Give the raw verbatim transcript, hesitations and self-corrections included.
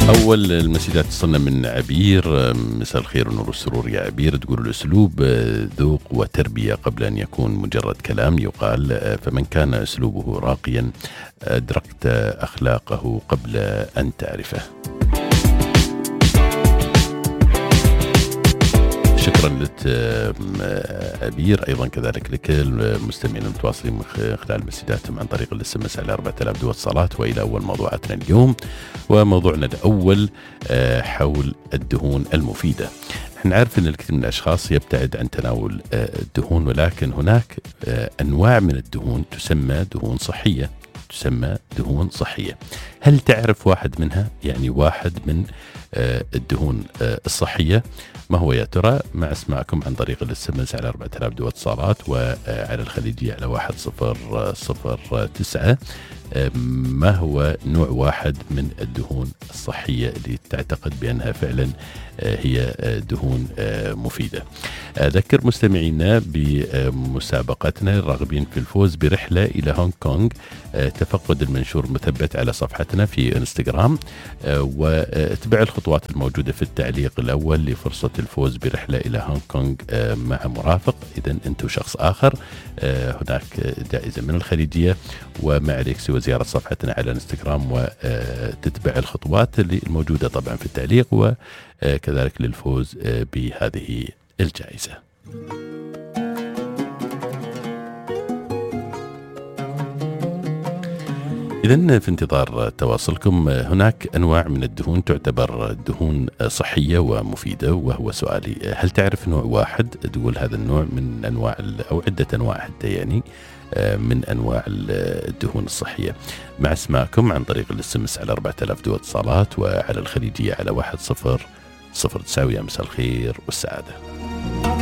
أول المسجات تصلنا من عبير. مساء الخير ونور السرور يا عبير. تقول الأسلوب ذوق وتربية قبل أن يكون مجرد كلام يقال، فمن كان أسلوبه راقيا أدركت أخلاقه قبل أن تعرفه. شكرا لك عبير، أيضا كذلك لك المستمعين المتواصلين من خلال مسجاتهم عن طريق الاس ام اس على أربعة آلاف دو اتصالات. وإلى أول موضوعاتنا اليوم، وموضوعنا الأول حول الدهون المفيدة. احنا نعرف أن الكثير من الأشخاص يبتعد عن تناول الدهون، ولكن هناك أنواع من الدهون تسمى دهون صحية تسمى دهون صحية. هل تعرف واحد منها؟ يعني واحد من الدهون الصحية ما هو يا ترى؟ مع اسمعكم عن طريق الاس ام اس على أربعة آلاف دو اتصالات، وعلى الخليجية على واحد صفر صفر تسعة. ما هو نوع واحد من الدهون الصحية اللي تعتقد بأنها فعلا هي دهون مفيدة؟ أذكر مستمعينا بمسابقتنا الراغبين في الفوز برحلة إلى هونغ كونغ. تفقد المنشور مثبت على صفحتنا في انستغرام، واتبع الخطوات الموجودة في التعليق الأول لفرصة الفوز برحلة إلى هونغ كونغ مع مرافق. إذا أنتم شخص آخر، هناك جائزة من الخليجية، وما عليك سوى زيارة صفحتنا على انستغرام وتتبع الخطوات اللي الموجودة طبعا في التعليق، وكذلك للفوز بهذه الجائزة. إذن في انتظار تواصلكم. هناك أنواع من الدهون تعتبر دهون صحية ومفيدة، وهو سؤالي: هل تعرف نوع واحد تقول هذا النوع من أنواع أو عدة أنواع حتى يعني من أنواع الدهون الصحية؟ مع اسماءكم عن طريق الاس ام اس على أربعة آلاف دو اتصالات، وعلى الخليجية على واحد صفر صفر تسعة. يا مساء الخير والسعادة.